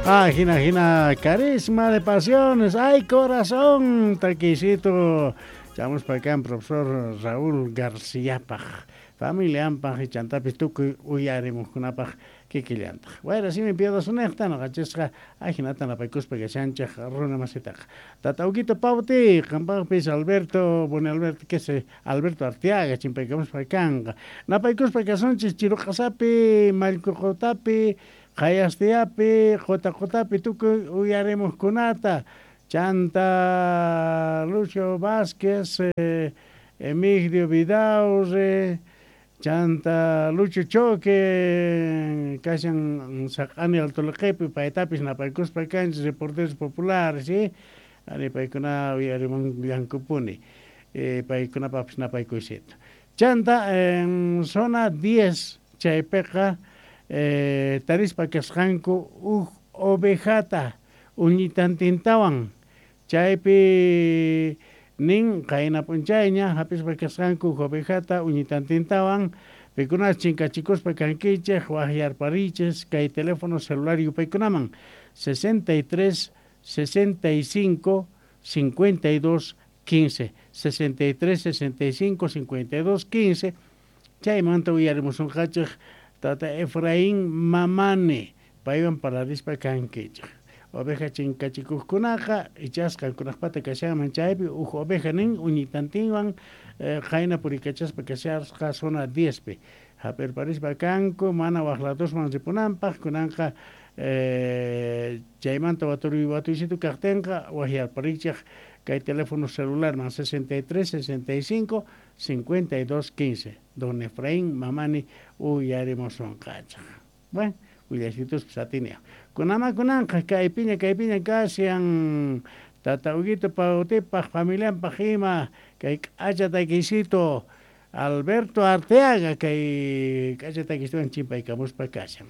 Ah, jina, jina, carisma de pasiones, ay corazón, taquisito. Chamos para acá, profesor Raúl García paj, familianpaj, y chantapis tukuy uyarimuqkunapaj kikillantaq. Wayra simi piadasunejta noqanchisqa ajinata napaykuspa kashanchej runa masitaqa. Tata Huguito Pauti, qampaqpis Alberto, bueno Alberto, que se Alberto Arteaga, chimpaykamuspa kanqa. Napaykuspa kasunchis Chiruqasapi, Mallkuqutapi, Qayastiapi, Qotaqotapi tukuy uyarimuqkunata. Chanta Lucio Vázquez, Emigdio Vidaurre, Chanta Lucho Choque, kashan saq'ani Alto paytapis napaykuspa kanchis reporteros populares, ¿sí? Ari paykuna uyarimunllankupuni, paykunapaqpis napaykuysito. Chanta en zona 10 chaypiqa tarispa kasqanku huk ovejata uñitantintawan chaypi nin qayna p'unchayña hap'ispa kasqanku huk ovejata uñitantintawan pikunas chinkachikuspa kankichik waqyarparichis kay teléfono celular yupaykunaman 63 65 52 15 63 65 52 15 chaymanta uyarimusunqachik tata Efraín Mamani paywan parlarispa kankichik. Oveja chinkachikuqkunaqa ichasqa qankunaqpata kashanman chaypi huk oveja nin uñitantinwan qayna purikachaspa kashasqa zona 10 pi hap'irparispa kanku mana waq ladosman ripunanpaq kunanqa chaymanta waturuy watuysitu kaqtinqa waqyarparichik kay teléfono celularman 63 65 52 15 don Efraín Mamani uyarimusunqachik. Bueno, willaysituspas atinia. Kunama kunanqa kaypiña kaypiña kashan tata Huguito Pautipaq familianpaq ima kay k'acha takisito Alberto Arteaga kay k'acha takisituwan chimpaykamuspa kashan.